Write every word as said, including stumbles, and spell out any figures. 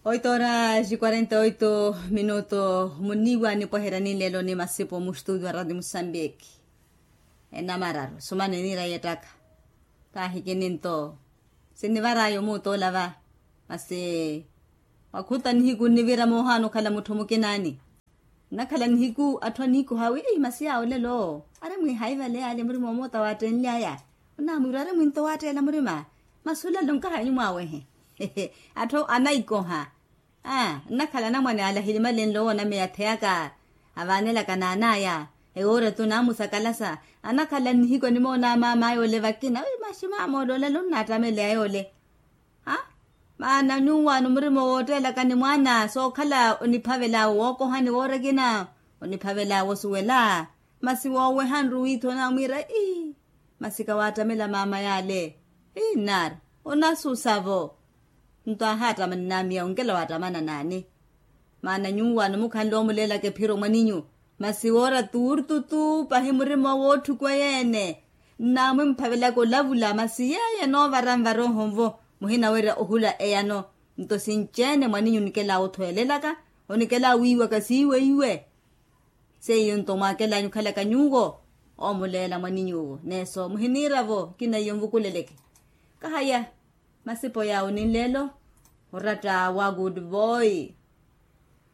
Oito horas e quarenta e oito minuto muniiwa nipweherya ninleelo ni masipo mustutio a radio musambiki. Enamararu sumana eniira yeettaka. Kaahikini nto sinnivar'aya omuutola va. Masi wakhuta nihiku nnivira moohaana okhala mutthu mukinaani. Nnakhala nihiku atthu aniikoha wi masi yaawo olelo ari mwiihaiva leya ale murima omoota waattenly'aya. Onaamwiira ari mwinto waatteela murima. Masi olelo nkahanyu mwaawehe. Atthu anaikoha. Aa nnakhala anamwane alahili malenlo woonameya atheyaka. Avaanelaka naan'aya ewoora-tu naamusakalasa. Anakhala nnihiku animoona amaam'aya ole vakina wi masi maama ole olelo onnaattamel'aya ole. Ha maana nyuwaano murima wootteelaka ni mwaana sookhala oniphavel'awe wookohani woora ekina. Oniphavel'awe osuwela. Masi woowehanru wiithi onaamwiira ii. Masi kawaattamela maama yaale. Ii nnaari onasusa-vo. Nto ahaattamani naamiya onkela waattamana naani? Maana nyuwaano mukhanle omuleelaka ephiro mwaninyu. Masi woora tuurtutu pahi murima wootthukuwa yeene. Nnaamwimphavelaka olavula masi yeeyo enoovara nvarooho nvo. Muhinawerya ohula eyano. Nto sinci-ene mwaninyu onikel'awe othweelelaka onikel'awe wiiwaka siiweiwe. Seiyo nto mwaakel'anyu okhalaka nyuwo. Oomuleela mwaninyuwo neeso muhiniira-vo ekina iyo nvukuleleke. Kahaya masipo yaawo ninleelo. Oratta wa good boy.